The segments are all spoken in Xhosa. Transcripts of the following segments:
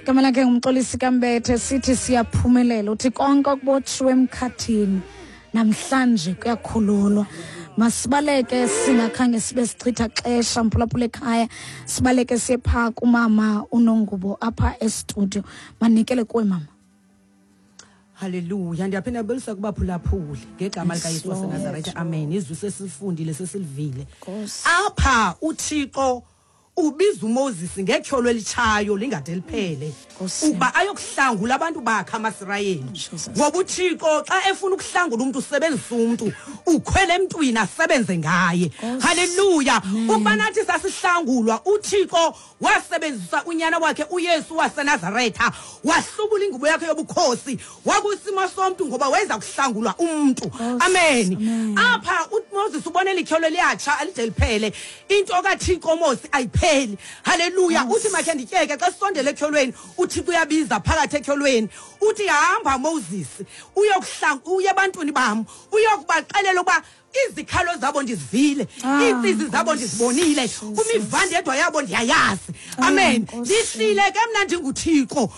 Igama lakhe nguMxolisi kaMbethe, sithi siyaphumelela. Uthi konke okubotshiwe emkhathini namhlanje kuyakhululwa. Masibaleke singakhange sibe sichitha xesha, mphulaphula ekhaya, sibaleke siye phaa kumama uNongubo apha estudio. Manikele kuwe, mama. Haleluya. Ndiyaphinda ndibulisa kubaphulaphuli ngegama likaYesu waseNazaretha. Amen. Izwi sesilifundile, sesilivile. Nkosi. Apha uThixo ubiza uMoses ngetyholo elitshayo lingade liphele Nkosi. ukuba ayokuhlangula abantu bakhe amaSirayeli. Jesus. Ngoba uThixo xa efuna ukuhlangula umntu usebenzisa umntu, ukhwele emntwini asebenze ngaye. Nkosi. Haleluya. Amen. Ukuba nathi sasihlangulwa, uThixo wasebenzisa unyana wakhe uYesu waseNazaretha, wahlubula ingubo yakhe yobukhosi wakwisimo somntu ngoba weza kuhlangulwa umntu. Nkosi. Amen. Amen. Apha uMoses ubona elityholo liyatsha alide liphele. Into kaThixo Moses ayipheli. Haleluya. Uthi makhe ndityeke xa sisondele etyholweni, uThixo uyabiza phakathi etyholweni. Uthi hamba Moses, uye ebantwini bam, uyokubaxelela ukuba izikhalo zabo ndizivile, iintsizi zabo ndizibonile, umivandedwa yabo ndiyayazi. Amen. Nkosi. Ndihlile ke mna ndinguThixo,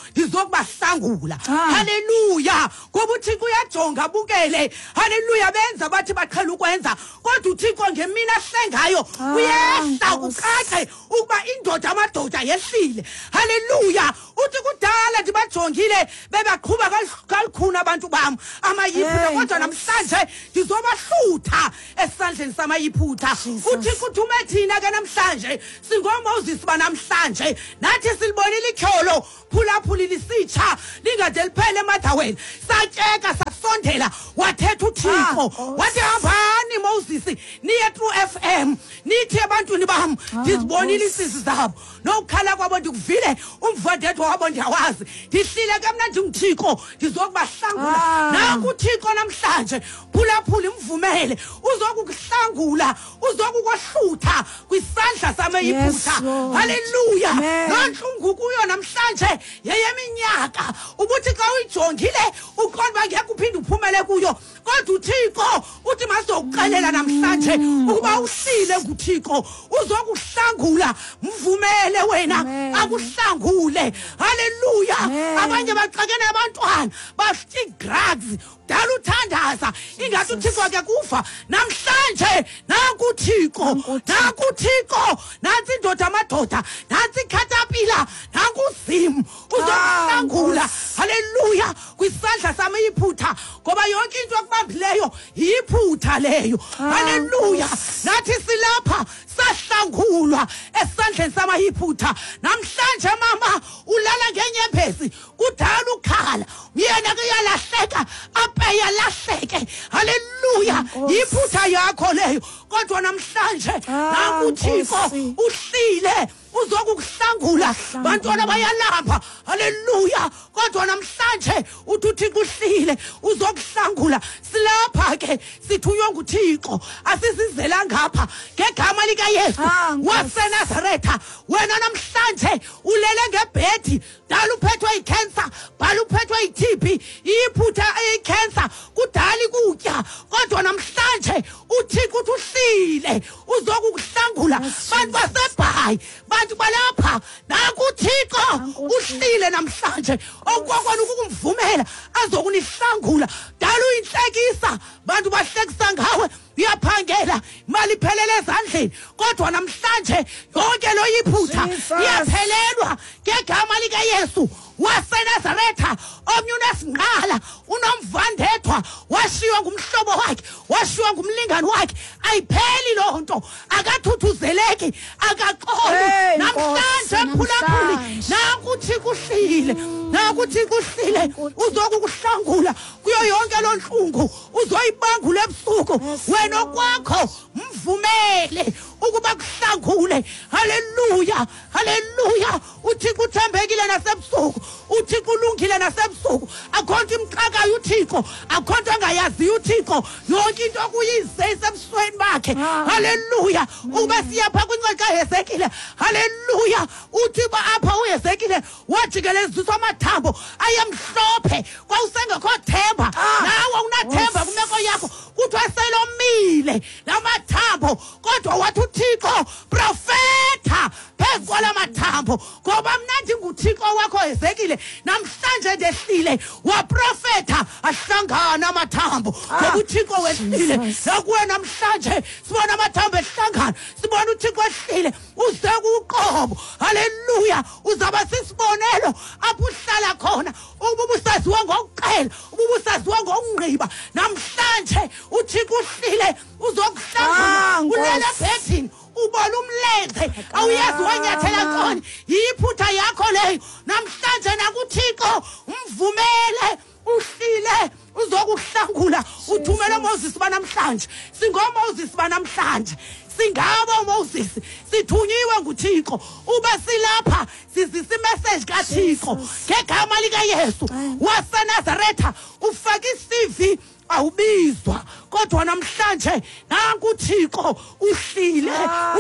ndizokubahlangula. Haleluya. Ngoba uThixo uyajonga abukele. Haleluya. Benza bathi baqhela ukwenza, kodwa uThixo ngemini ahlengayo uyehla Nkosi. kucace ukuba indoda amadoda yehlile. Haleluya. Uthi kudala ndibajongile bebaqhuba kalukhuni abantu bam amaYiphutha, Hey, kodwa Nkosi. namhlanje ndizobahlutha esandleni samaYiphutha. Jesus. uThixo uthume thina ke namhlanje, singoMoses banamhlanje, nathi silibonile ityholo phulaphuli lisitsha lingade liphele eMotherwell. Satyeka sasondela, wathetha uThixo, Nkosi. wathi hambani Moses niye True FM nithi ebantwini bam ndizibonile Nkosi. iintsizi zabo nokukhala kwabo ndikuvile, umvandedwa wabo ndiyawazi. Ndihlile ke mna ndinguThixo, ndizokubahlangula. Nanku uThixo namhlanje, phulaphula, imvumele, uzokukuhlangula, uzokukohlutha kwisandla samaYiphutha. Yes, Lord. Haleluya. Amen. Loo ntlungu kuyo namhlanje yeyeminyaka, ubuthi xa uyijongile uqonda uba ngeke uphinde uphumele kuyo, kodwa uThixo uthi mazokuxelela namhlanje ukuba uhlile nguThixo, uzokuhlangula. Mvumele wena Amen. akuhlangule. Haleluya. Amen. Abanye baxakene abantwana bafika ii-drugs, dala uthandaza ingathi uThixo ke kuva. Namhlanje nanku uThixo, Nanku uThixo. nanku uThixo, nantsi indoda amadoda, nantsi ikhatapila, nanku uZimu uzokuhlangula. Nkosi. Haleluya. Kwisandla samayiphutha, ngoba yonke into ekubambileyo yiphutha leyo. Haleluya. Nkosi. Nathi silapha sahlangulwa esandleni samayiphutha. Namhlanje mama ulala ngenyembezi, kudala ukhala, yena ke uyalahleka, ape yalahleke. Haleluya. Nkosi. Yiphutha yakho leyo, kodwa namhlanje nanku uThixo Nkosi. uhlile uzokukuhlangula. Bantwana bayalamba, haleluya, kodwa namhlanje uthi uThixo uhlile uzokuhlangula. Silapha ke sithunywe nguThixo, asizizela ngapha ngegama likaYesu Nkosi. waseNazaretha. Wena namhlanje ulele ngebhedi, dala uphethwe yikhensa, bhala uphethwe yi-TB, iyiphutha eyikhensa, kudala ikutya, kodwa namhlanje uThixo uthi uhlile uzokukuhlangula. Yes, Bantu baseBhayi, bantu balapha, nanku uThixo Nanku uThixo. uhlile namhlanje, okukokona ukukumvumela azokunihlangula. Dala uyintlekisa, bantu bahlekisa ngawe, uyaphangela, imali iphelele ezandleni, kodwa namhlanje yonke lo yiphutha Jesus. iyaphelelwa ngegama likaYesu waseNazaretha. Omnye unesingqala, unomvandedwa, washiywa ngumhlobo wakhe, washiywa ngumlingani wakhe, ayipheli loo nto, akathuthuzeleki, akaxoli. Hey, Namhlanje Nkosi, mphulaphuli, namhlanje. nanku uThixo uhlile, nanku uThixo uhlile, uzokukuhlangula kuyo yonke loo ntlungu, uzoyibangula ebusuku. Yes, Wena Lord. okwakho mvumele ukuba kuhlangule. Haleluya, haleluya. uThixo uthembekile nasebusuku, uThixo ulungile nasebusuku. Akho nto imxakayo uThixo, akho nto angayaziyo uThixo, yonke into okuyize isebusweni bakhe. Haleluya. Ukuba siyapha kwincwadi kaHezekile, haleluya, uthi uba apha uHezekile wajikeleziswa amathambo ayemhlophe, kwawusengekho themba. Nawe unathemba kwimeko yakho, kuthiwa selomile la mathambo, kodwa wathi uThixo profetha phezu kwala mathambo, ngoba mna ndingu ndinguThixo wakho Ezekile, namhlanje ndehlile. Waprofetha ahlangana amathambo, ngoba uThixo wehlile. Nakuwe namhlanje sibona amathambo ehlangana, sibona uThixo ehlile, uze kuqobo. Haleluya. Uzaba sisibonelo apho uhlala khona, ukuba ubusaziwa ngokuqela, ukuba ubusaziwa ngokungqiba. Namhlanje uThixo uhlile, uzokuhlangula. Ulele ebhedini, ubona umlenze, awuyazi wanyathela ntoni, yiphutha yakho leyo. Namhlanje nakuThixo umvumele, uhlile, uzokuhlangula. Uthumele Moses banamhlanje, singoMoses banamhlanje, singabo Moses, sithunyiwe nguThixo. Uba silapha sizisa imessage kaThixo ngegama likaYesu waseNazaretha. Ufaka isivi awubizwa, kodwa namhlanje nanku uThixo uhlile,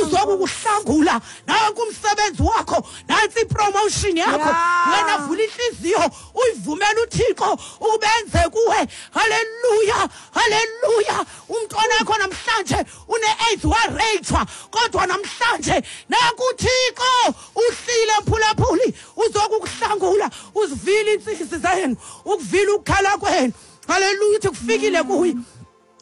uzokukuhlangula. Nanku umsebenzi wakho, nansi ipromotion yakho. Wena vula inhliziyo uyivumele uThixo ubenze kuwe. Haleluya, haleluya. Umntwana wakho namhlanje une-AIDS, wareyithwa, kodwa namhlanje nanku uThixo uhlile, mphulaphuli, uzokukuhlangula. Uzivile intsizi zenu, ukuvile ukukhala kwenu. Haleluya. Uthi kufikile kuye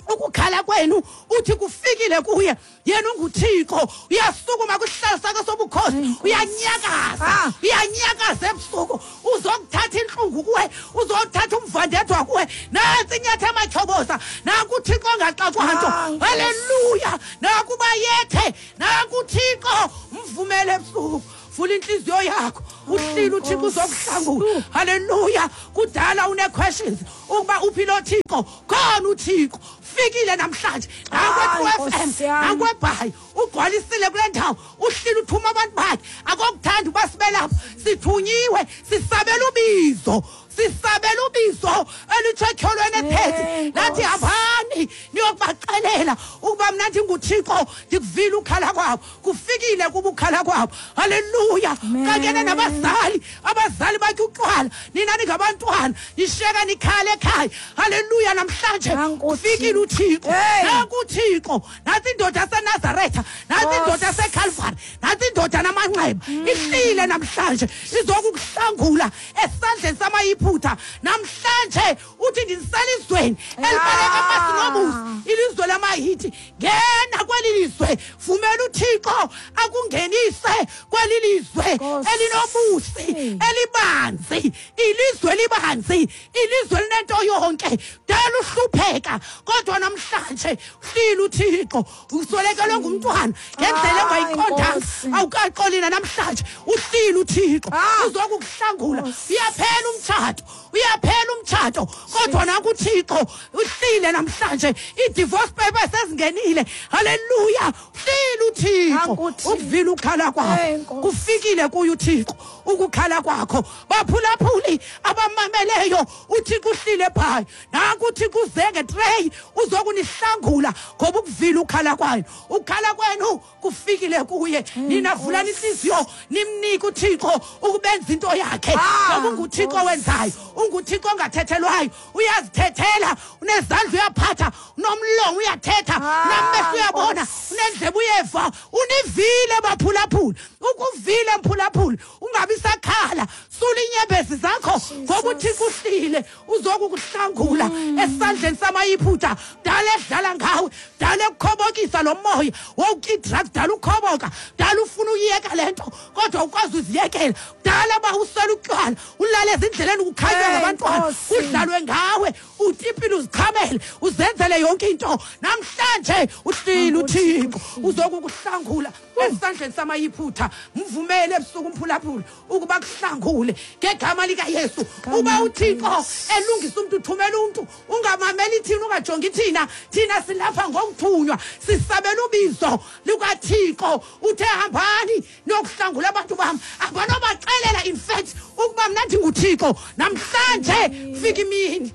ukukhala kwenu, uthi kufikile kuye. Yena unguThixo, uyasukuma kwisihlalo sakhe sobukhosi, uyanyakaza, uyanyakaza ebusuku, uzokuthatha intlungu kuwe, uzothatha umvandedwa kuwe. Nantsi inyatha amatyhoboza, nanku uThixo ongaxakwa nto. Haleluya. Nakuba yethe, nanku uThixo, mvumele ebusuku. Vula inhliziyo yakho, uhlile uThixo uzokuhlangula. Haleluya. Kudala une-questions ukuba uphi lo Thixo. Khona uThixo fikile namhlanje, nakwe-True FM, nakweBhayi, ugcwalisile kule ndawo. Uhlile, uthuma abantu bakhe. Akokuthanda uba sibe lapha, sithunyiwe, sisabela ubizo, sisabela ubizo elitsho etyholweni ephethe lathi hambani niyokubaxelela ukuba mna ndinguThixo, ndikuvile ukhala kwabo. Kufikile kuba ukhala kwabo. Haleluya. Kanyene nabazali, abazali batya utywala, nina ningabantwana nishiyeka nikhala ekhaya. Haleluya. Namhlanje kufikile uThixo, nanku uThixo, nantsi indoda yaseNazaretha, nantsi indoda yaseKalvari, nantsi indoda namanxeba ihlile namhlanje, izokukuhlangula esandleni samayiphutha. Namhlanje uthi ndiselizweni elibaleka amasi nobusi, ilizwe lamaHiti. Ngena kweli lizwe, vumela uThixo akungenise kweli lizwe elinobusi, elibanzi, ilizwe elibanzi, ilizwe linento yonke. Dala uhlupheka, kodwa namhlanje uhlile uThixo. Uswelekelwe ngumntwana ngendlela ongayiqondanga, awukaxolina. Namhlanje uhlile uThixo, uzokukuhlangula. Uyaphela umtshato, uyaphela umtshato, kodwa nanku uThixo uhlile namhlanje. I-divorce papers sezingenile. Haleluya. Uhlile uThixo, ukuvile ukukhala kwakho, kufikile kuye uThixo ukukhala kwakho. Baphulaphuli abamameleyo, uThixo uhlile phayo. Nanku uThixo uze ngetreyi, uzokunihlangula ngoba ukuvile ukukhala kwayo. Ukukhala kwenu kufikile kuye. Nina vulani inhliziyo, nimnike uThixo ukubenza into yakhe, ngoba unguThixo wenzayo, unguThixo ongathethelwayo. Uyazithethela, unezandla uyaphatha, unomlomo uyathetha, unamehlo uyabona, unendlebe uyeva. Univile baphulaphuli, ukuvile mphulaphuli, ungabi sakhala. Sula inyembezi zakho ngoba uThixo uhlile, uzokukuhlangula esandleni samayiphutha. Dala edlala ngawe, dala ekukhobokisa lo moya wowutya i-drugs, dala ukhoboka, dala ufuna uyiyeka le nto kodwa ukwazi uziyekela. Dala uba usela utywala, ulale ezindleleni, kukhanywe ngabantwana, kudlalwe ngawe, utipile, uzichamele, uzenzele yonke into. Namhlanje uhlile uThixo, uzokukuhlangula esandleni samayiphutha. Mvumele ebusuku umphulaphuli ukuba kuhlangule ngegama likaYesu. Uba uThixo elungisa umntu, uthumela umntu. Ungamameli thina, ungajongi thina. Thina silapha ngokuthunywa, sisabela ubizo lukaThixo. Uthe hambani niyokuhlangula abantu bam. Abanobaxelela in fact ukuba mna ndinguThixo. Namhlanje fika imini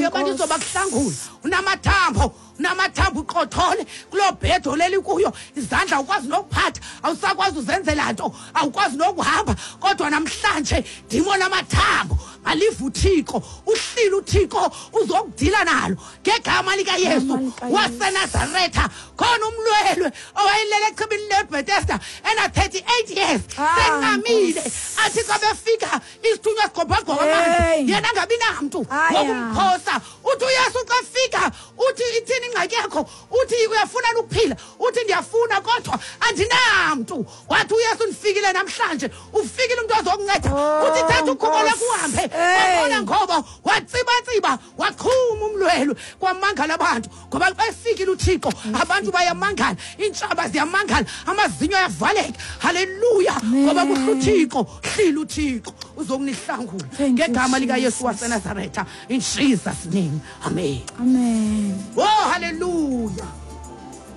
yoba ndizoba kuhlangula. Unamathambo, unamathambo, uqothole kuloo bhedi oleli kuyo, izandla awukwazi nokuphatha, awusakwazi uzenzela nto, awukwazi nokuhamba, kodwa namhlanje ndimona amathambo. Malive uThixo, uhlile uThixo uzokudila nalo ngegama likaYesu waseNazaretha. Khona umlwelwe owayelele echibini leBethesda ena-38 years, sencamile, athi xa befika isithunywa sigobhagqoba amanzi, yena angabi namntu wokumphosa. Uthi uYesu xa fika, uthi ithini ingxaki yakho? Uthi uyafuna ukuphila? Uthi ndiyafuna, kodwa andinamntu. Wathi uYesu, ndifikile namhlanje, ufikile umntu ozokunceda. Uthi thatha ukhubo lwakho uhambe. Wabona ngoba watsibatsiba, waqhuma umlwelwe, kwamangala abantu, ngoba xa efikile uThixo abantu bayamangala, iintshaba ziyamangala, amazinyo ayavaleka. Haleluya, ngoba kuhle uThixo, hlile uThixo uzokunihlangula ngegama likaYesu waseNazaretha, in Jesus name, amen. Amen. Oh, haleluya.